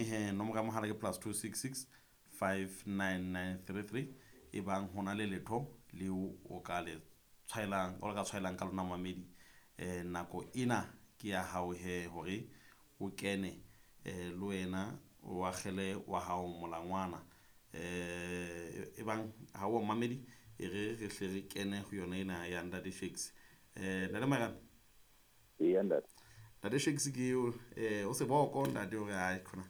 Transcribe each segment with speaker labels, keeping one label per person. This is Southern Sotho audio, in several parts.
Speaker 1: he nomoro ya mohala ke +266 59933 e bang ho na le letho leo o ka le tshwaelang o ka tshwaelang ka lona mamedi nako ena ke ya hao he hore o kene le wena o akgele wa hao molangwana e bang ha o mamedi e re re hle re kene ho yona ena ya Ntate Shakes. Ntate Mairana.
Speaker 2: Eya ntate.
Speaker 1: Ntate Shakes ke eo o seboko ntate hore ai khona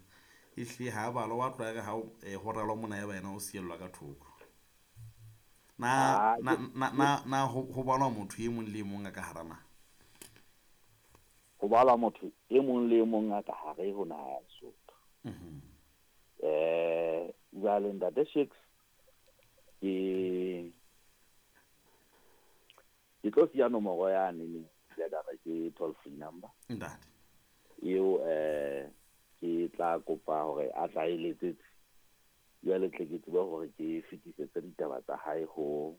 Speaker 1: ehlile ha balo wa tloha re ha ho ralwa mona ya ba yena o siellwa ka thoko. Na na na na ho balwa motho e mong le e mong a ka hara naha?
Speaker 2: Ho balwa motho e mong le e mong a ka hare ho naha ya Lesotho. Jwale Ntate Shakes ke tlo siya nomoro yane ne ya ka re ke toll free number.
Speaker 1: Ntate.
Speaker 2: Eo ke tla kopa hore a tla e letsetse. Jwale tle ke tsebe hore ke fetisetse ditaba tsa hae ho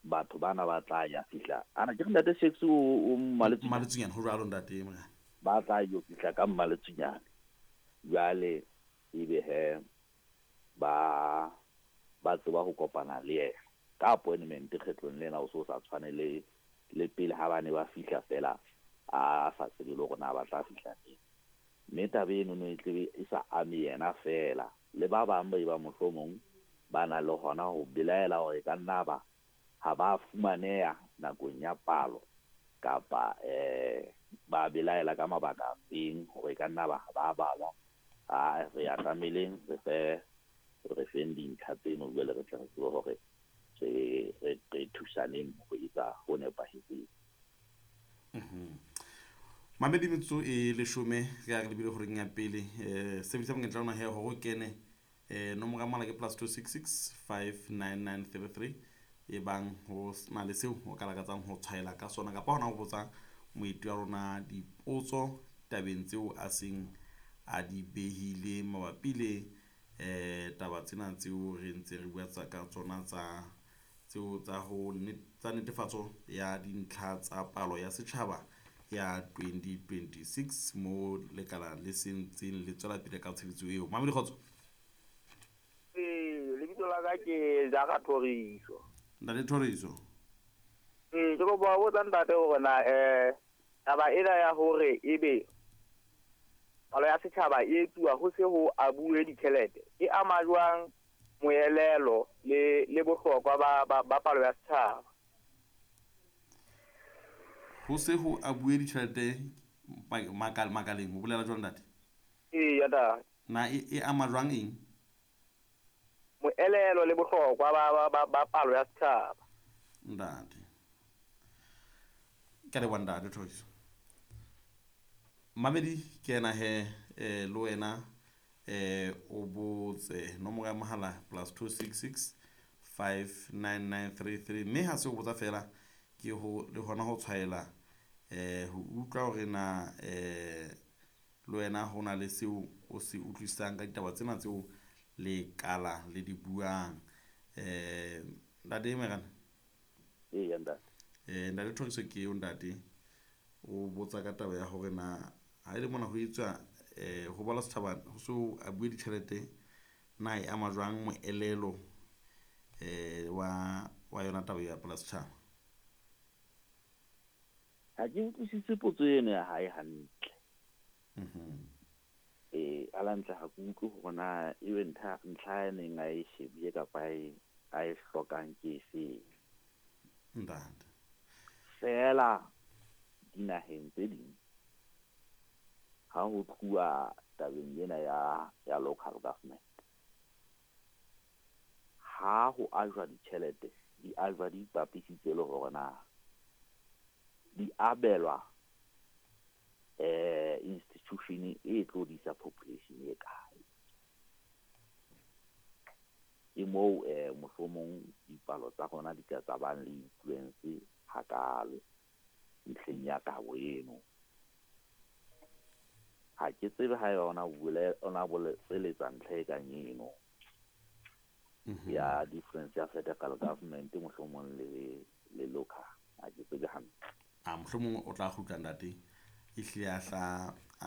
Speaker 2: batho bana ba tla ya fihla. Ana ke re Ntate Shakes o
Speaker 1: Mmaletsunyane ho jwalo Ntate Morena.
Speaker 2: Ba tla yo fihla ka Mmaletsunyane. Jwale ebe he ba tseba ho kopana le yena ka appointment kgetlong lena o so sa tshwane le pele ha ba ne ba fihla fela a sa tsebe le hore na ba tla fihla neng. Mme taba eno no e tlebe e sa ame yena fela le ba bang ba e ba mohlomong ba na le hona ho belaela hore e ka nna ba ha ba fumaneha nakong ya palo kapa ba belaela ka mabaka a feng hore e ka nna ba ba balwa. A re ya tlameleng re feng dintlha tseno jwale re tla re tsebe hore re thusaneng ho etsa ho nepahetseng.
Speaker 1: Mamedi metsotso e leshome re ya re lebile horeng ya pele sebedisa monyetla ona he hore o kene nomoro ya mohala ke +266 59933 e bang ho na le seo o ka lakatsang ho tshwaela ka sona kapa hona ho botsa moeti wa rona dipotso tabeng tseo a seng a di behile mabapi le taba tsena tseo re ntse re bua tsa ka tsona tsa tseo tsa ho tsa netefatso ya dintlha tsa palo ya setjhaba ya 2026 mo lekala le sentseng le tswela pele ka tshebetso eo. Mamedi kgotso.
Speaker 3: Lebitso la ka ke Jara Thoriso.
Speaker 1: Ntate Thoriso.
Speaker 3: Ke kopa ho botsa ntate hore na taba ena ya hore ebe palo ya setjhaba e etsuwa ho se ho abuwe ditjhelete e ama jwang moelelo le bohlokwa ba palo ya setjhaba?
Speaker 1: Ho se ho abuwe ditjhelete makaleng ho bolela jwang ntate?
Speaker 3: Eya ntate.
Speaker 1: Na e ama jwang eng?
Speaker 3: Moelelo le bohlokwa ba palo ya setjhaba.
Speaker 1: Ntate. Ke leboha ntate Thoriso. Mamedi ke ena he le wena o botse nomoro ya mohala +266 59933 mme ha se o botsa fela ke ho le hona ho tshwaela ho utlwa hore na le wena ho na le seo o se utlwisisang ka ditaba tsena tseo le kala le di buang. Ntate Mairana.
Speaker 2: Eya ntate.
Speaker 1: Ntate Thoriso ke eo ntate o botsa ka taba ya hore na ha ile mona ho etswa ho balwa setjhaba ho so a bue ditjhelete na e ama jwang moelelo wa yona taba ya pala setjhaba?
Speaker 2: Ha ke utlwisise potso eno ya hae hantle. Ala ntle ha ke utlwe hore na ebe ntlha e neng a e shebile kapa a e hlokang ke efeng.
Speaker 1: Ntate.
Speaker 2: Fela dinaheng tse ding ha ho tluwa tabeng ena ya local government, ha ho ajwa ditjhelete di ajwa di ipapisitse le hore na di abelwa institution e tlo disa population e kae. Ke moo mohlomong dipalo tsa rona di ka tsa bang le influence hakalo ntlheng ya kabo eno. Ha ke tsebe ha eba ona boletsa ntlha e kang eno ya difference ya federal government mohlomong le local. Ha ke tsebe hantle.
Speaker 1: A mohlomong o tla kgutla ntate ehlile a hla